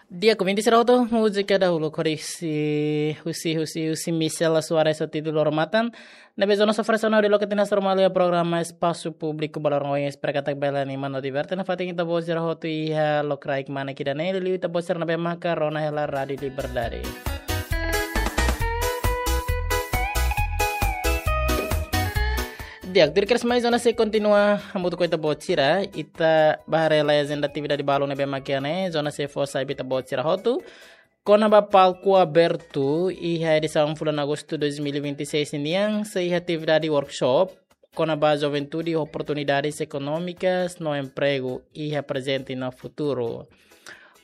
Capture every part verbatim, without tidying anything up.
Di'ak, ouvinte sira hotu, múzika dahuluk husi, husi, husi, husi Michela Soares ho títulu Loro Matan. Ne'ebé zona sofresono di lokal tinas normal iha programa Espasu Públiku ba loron ohin, espera katak bele anima no diverte nafatin ita-boot sira hotu iha lokraik manek ida-ne'e, liuliu ita-boot sira ne'ebé maka rona hela Rádiu Liberdade. Di'ak, tuir kedas mai Zona C kontinua hamutuk ho ita-boot sira, ita bá haree lai ajenda atividade balu ne'ebé maka iha ne'e, Zona C fó sai ba ita-boot sira hotu kona-ba palku abertu iha edisaun fulan Agostu dois mil e vinte e seis nian, sei iha atividade workshop kona-ba juventude, oportunidades ekonómikas no empregu iha prezente no futuru.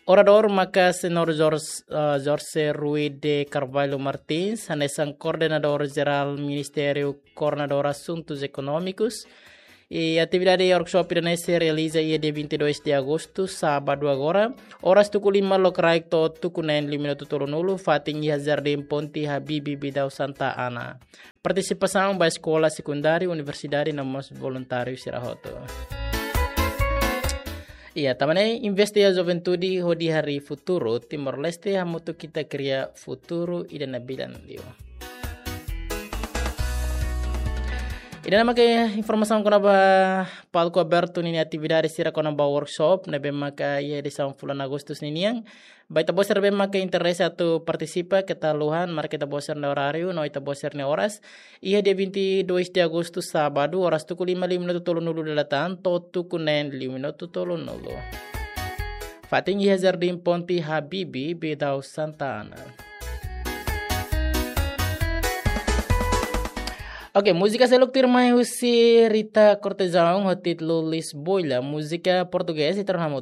Oradór maka Señór Jorge, eh, Jorge Rui de Carvalho Martins, hanesan Koordenadór Jerál Ministériu Koordenadór Asuntus Ekonómikus. I atividade workshop ida-ne'e sei realiza iha dia vinte e dois de agostu, sábadu agora, oras tuku lima lokraik to'o tuku neen liu minutu tolunulu, fatin iha Jardín Ponte Habibie Bidau Santa Ana. Partisipasaun ba eskola sekundáriu, universidade no mós voluntáriu sira hotu. Iha tema ne'e, investe iha juventude hodi harii futuru Timor-Leste, hamutuk ita kria futuru ida nabilan liu. Ida-ne'e maka informasaun kona-ba palku abertu ninia atividade sira kona-ba workshop ne'ebé maka iha edisaun fulan Agostu ninian. Ba ita-boot sira ne'ebé maka interese atu partisipa, keta haluha marka ita-boot sira-nia oráriu no ita-boot sira-nia oras. Iha dia vinte e dois de agostu, sábadu, oras tuku lima liu minutu tolunulu dala tan to'o tuku neen liu minutu tolunulu. Fatin iha Jardín Ponte Habibie Bidau Santa Ana. Oke, múzika seluk tuirmai husi Rita Cortejão ho títulu Lisboa, múzika portugés, ita rona hamutuk.